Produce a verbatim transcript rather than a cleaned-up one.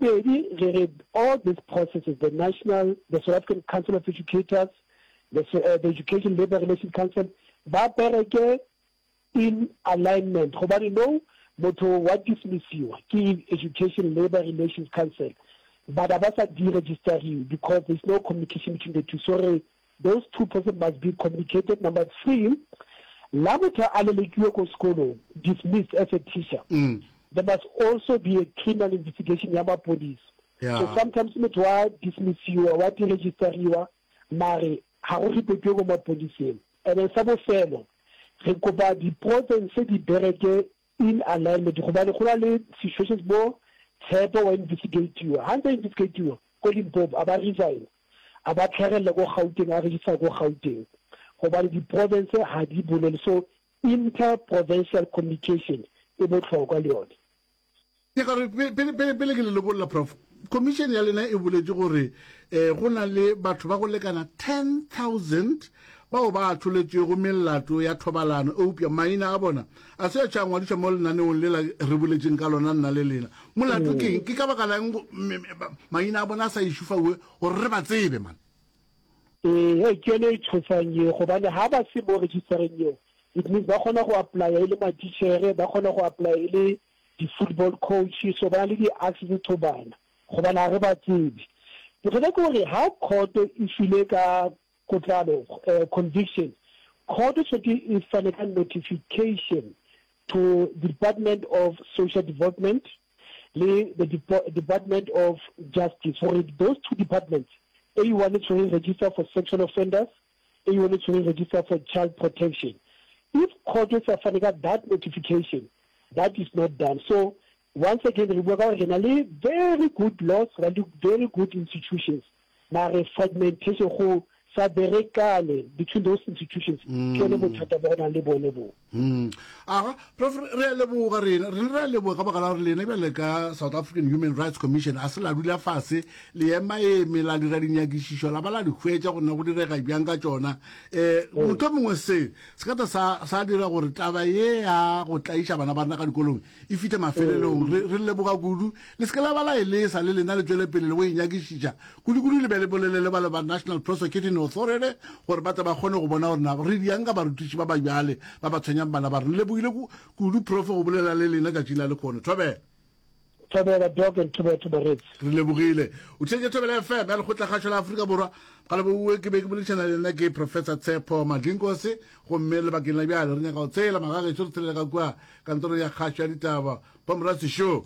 bobedi re re all these processes the national the South African Council of Educators the, uh, the Education Labour Relations Council ba bereke in alignment gobane no motho wa dismissiwa ke Education Labour Relations Council but ba sa deregisteriwe because there's no communication between the two so re those two persons must be communicated number three la motho a lelekiwe ko sekolong dismissed as a teacher mm. there must also be a criminal investigation ya mapodisa yeah. so sometimes motho wa dismissiwa wa deregisteriwa mare ga go reportiwe ko mapodiseng and then sa bofelo re kopa di-province di bereke in alignment gobane go na le situations mo tshepo wa investigatiwa ha ntse investigatiwa ko Limpopo a ba resign a ba tlhagelela ko Gauteng a register ko Gauteng gobane di-province ha di bolele so inter-provincial communication e botlhokwa le yone ke gore pele pele pele ke le lokolla prof commission ya lena e boletse gore um go na le batho ba go lekana ten thousand bao ba atholetšego melato ya thobalano eupša maina a bona a se a tša ngwadišwa mo lenaneong lela re boletseng ka lona nna le lena molato ke eng ke ka baka lang maina a bona a sa išufaue gore re ba tsebe man ee ke yone e tshosang eo gobane ha ba se mo registereng eo it means ba kgona go applya e le matitšhere ba kgona go apply e le di-football coach so ba na le di-access to bana gobane ga re ba tsebe bothata ke gore ha court e file ka kotlalo uh, conviction court tshwanetse e fane ka notification to the department of social development le the Depo department of justice gore those two departments a one e tshwere register for sexual offenders a one e tshwere register for child protection if court e sa fane ka that notification that is not done so once again re bua ka gore re na le very good laws re na le very good institutions mare fragmentation go sa berekane between those institutions ke yone bothata bo go nang le bone bo Mm. aga prof re a leboga rena rena re a leboga ka baka la gore lena bjale ka south african human rights commission a se la dula fase le ema eme la dira dinyakišišo la ba la di hwetša gore na go direga bjang ka tšona um motho mongwe se se ka ta sa sa dira gore taba ye ya go tlaiša bana ba rena ka dikolong e fitlhe mafelelong re re leboga kudu le se ke la ba la e lesa le lena le tswele pele le go e nyakišiša kudu-kudu le be le bolele le ba le ba national prosecuting authority gore ba tle ba kgone go bona gore na re diang ka barutiši ba ba bjale ba ba tshwenyang bana ba rena lebogile kudu prof go bolela le lena tšatši la lekgono thobela thobela doc and thobela to baretsi re lebogile o theetše thobela fm ya lekgotlakgašo la afrika borwa galeboue ke be ke boledišana le nna ke professor tshepo madlinkosi gomme lebakeng la bjale re nyaka go tsela magagešo re tshelele ka kua kantorong ya kgašo ya ditaba pomorasi show